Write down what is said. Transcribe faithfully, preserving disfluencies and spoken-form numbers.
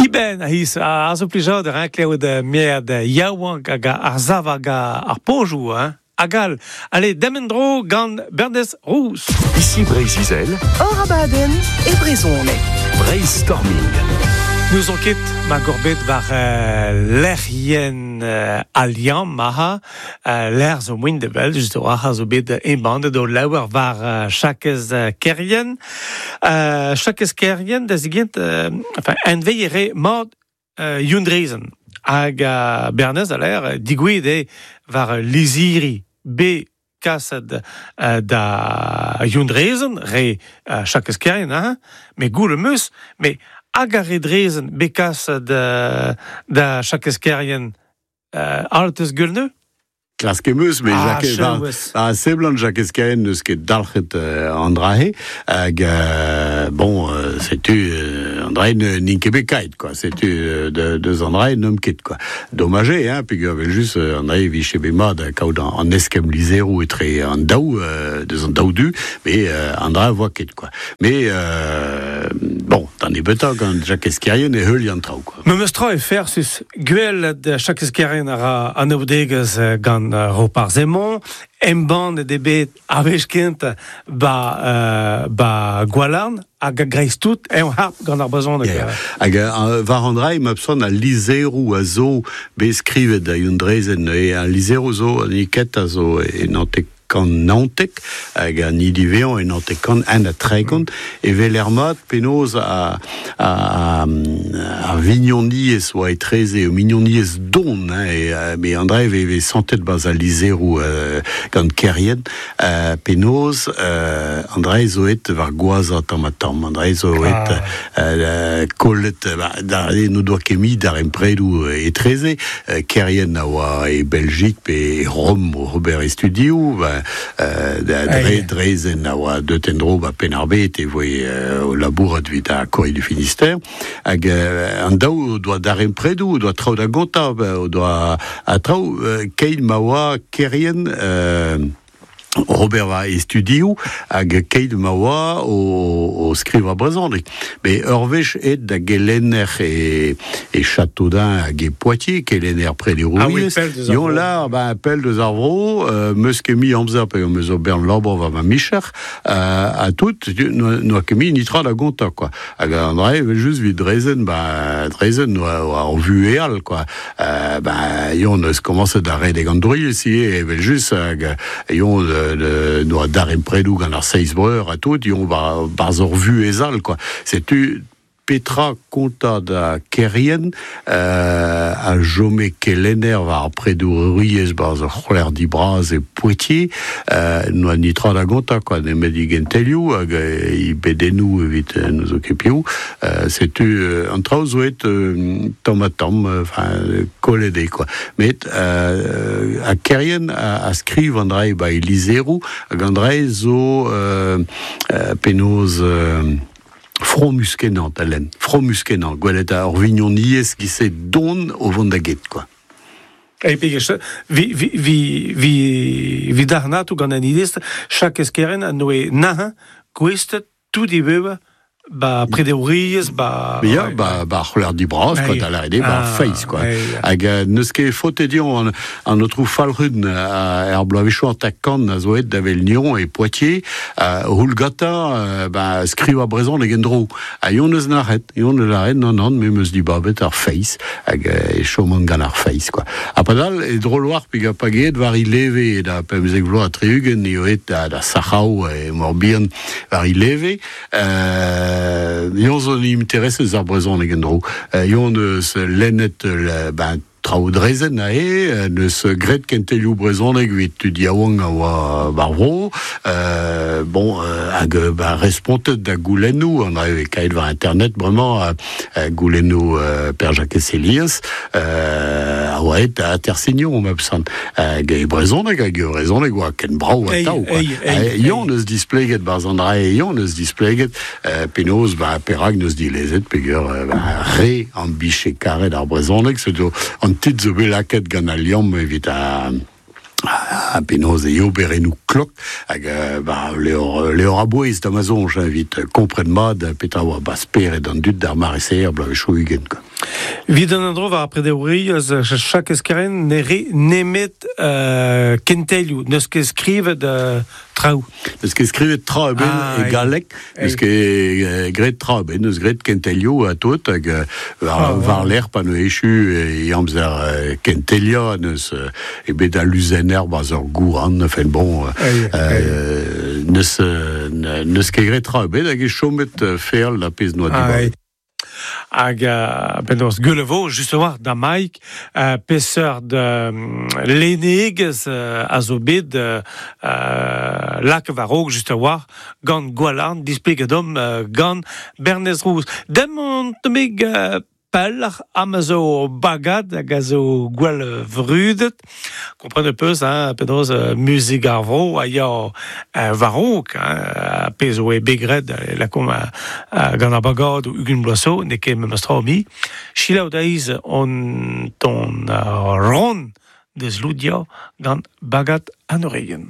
Diben a his a zo plijadur, hein, klevet mierd yaouank hag ar zav hag ar pojou, hein. Hag all. Allez, demendro gant Bernez Rouz. Ici Breizh-Izel. Hor abadenn e brezhoneg. Brainstorming. Nous on ket ma gorbet war euh, lec'hien euh, Al Liamm maha euh, l'er zo moin de bel just oa zo bet embandet o laouer war euh, Jakez euh, Kerrien. Euh, Jakez Kerrien da zigent euh, enfin en veillere mord euh, Youn Drezen hag uh, Bernez a l'air digouet e war liziri be kaset uh, da Youn Drezen re uh, Jakez Kerrien hein, me goule meus me hag ar re Drezen be kaset da, da Jakez Kerrien uh, altes gulneu? Klask emeus, me Ah, Jacques, ba, chouez. ba seblant Jakez Kerrien neus ket dalc'het euh, an drahe, hag, euh, bon, euh, setu, euh, an drahe ne n'int ket bet kaet, quoi, setu, euh, de, deus an drahe n'eum ket, quoi. Domage, hein, peogwir evel just, euh, an drahe vije bet mat kaout an, an eskemm lizheroù etre an daou, euh, deus an daou du, mais euh, an drahe voa ket, quoi. Mais, euh, bon, d'an nebeutañ gant Jakez Kerrien e heul an traoù, quoi. Me meus tra e fersus gwell de Jakez Kerrien a ra an oudegez gant uh, Roparz Hemon, embann e bet a wech kent ba, uh, ba Gwalarn hag a greiz tout en harp gant ar brezhoneg. Yeah. Hag uh, war an drae ma pson a lizheroù a zo bet skrivet da Youn Drezen e a lizheroù zo an iket a zo e nantek kant naontek hag an idivean e nantek kant an a tregont e vel er mat penaos a, a, a, a vignoniez oa etreze o mignoniez don hein, e, euh, me an drae ve, ve santet baz a lizheroù euh, gant Kerrien euh, penaos euh, an drae zo et war gwaza tamm ha tamm an drae zo et Ah. euh, kollet ba, da no doa ket mi d'ar empredoù etreze euh, Kerrien a oa e Belgique pe e Rome o Robert e studioù ba, euh, da dre, Ai. Drezen a oa deut en-dro ba Penn-ar-Bed e voe euh, o labourat evit ar Courrier du Finistère hag euh, an daou o doa d'ar empredoù o doa traoù da gontañ ba, o doa a traoù euh, keit ma oa Kerrien euh, Robert va e studioù hag keit ma oa o, o skrivañ brezhoneg. Me ur wech et da gelenner e, e Châteaudun hag e Poitiers, kelenner prederouriezh. Ah oui, pell deus ar Yon vro. lar, ba, pell deus ar vro, euh, meus ket mi amzer pe meus o bern labour war ma micher, euh, a tout, no, noa ket mi nitra da gontañ, quoi. Hag an drae, evel just vid Drezen, ba, Drezen noa, oa ar vuheal, quoi. Euh, ba, yon eus komañset da redek an droiez ivez, evel just, hag yon de, de, noa dar empredoù gant ar seiz breur a tout, yon ba, barz ur vuhez all, quoi. Setu petra kontañ da Kerrien euh, a jome kelenner war ar predouriezh barz ur c'holer dibraz e Poitiers euh, noa nitra da gontañ, quoi, nemet i gentelioù hag euh, i bedennoù evit euh, nous zo ket piv. Euh, setu euh, an traoù zo et euh, tamm ha tamm, euh, enfin, kollet eo, quoi. Met euh, a Kerrien a, a skriv an drae ba e lizheroù hag an drae zo euh, euh, penaos euh, fromus kenañ da lenn, fromus kenañ, gwelet ar vignoniezh ki se don o vont da get, quoi. E pege, vi, vi, vi, vi, vi darnatou gant an idez, Jakez Kerrien a noe nahañ gouestet tout i bev ba prederouriezh, ba... Mais ya, ba, ba c'holer dibraz, quoi, Ai. da lâret eo, ba Ah, feiz, quoi. ai. Hag euh, neus ket faotet dion an, an aotrou Falc'hun euh, er bloavezhioù an takan a zo et da vel Nyon e Poitiers, euh, houlgata, euh, ba, skrivañ brezhoneg en-dro. Ha yon eus nac'het, yon eus lâret, non, non, me meus dibabet ar feiz, hag euh, e choman gant ar feiz, quoi. Ha padal, e drol war pig a pageet war i leve, da pemzek vloaz ha tri-ugent, eo et da, da Sac'hao e Morbihan war i leve, euh, yon zo interesez ar brezhoneg en-dro. Euh, yon eus lennet euh, ben, traoù Drezen ae, euh, neus graet kentelioù brezhoneg evit tud yaouank a oa bar vro, euh, bon, euh, hag euh, ba, respontet da goulennoù, an drae kaet war internet bremañ, euh, euh, goulennoù euh, Per Jakez Helias, euh, a oa et da atersignon, ma peusant. Hag e brezhoneg, hag e brezhoneg oa ken brav Ei, atav, quoi. ei, ei, Eh, Yon eus displeget barz an drae, yon eus displeget, euh, penaos, ba, perak neus dilezet, peogwir, euh, ba, re an biche karet ar brezhoneg, setu an tit zo bet lakaet gant al liamm evit a, a penaos e oberennoù klok, hag euh, ba, leor, leor a bouez da ma soñj, hein, evit kompren mat petra oa ba spered an dud d'ar mare-se er bloavezhioù ugent, quoi. Vid an andro war prederouri eus chaque eskeren ne re nemet euh, kentelioù, neus ket skrivet euh, traoù. Neus ket skrivet tra eben ah, e galleg, neus ket graet tra eben, neus graet kentelioù a tout, hag war, ah, war l'er pa ne echu e amzer kentelia, neus e bet a luzener baz ur gouran, enfin bon, euh, neus, neus ket graet tra eben, hag e chomet feal la pez noa ah, Hag euh, penaos gulevo, justement, da Mike, euh, peseurt de euh, lenegez euh, a zo bet euh, lak war juste war, gant Gwalarn, displeget dom euh, gant Bernez Rouz. Dem on temig euh, pellach am a zo bagad hag a zo gwell vrudet. Kompren peus, hein, penaos uh, muzik ar vro a ya uh, varok, hein, pez oe begret la kom uh, gant ar bagad ou ugun bloaso, ne ket memes tra mi. Chilaou daiz on ton uh, ron deus loudia gant bagad an oreien.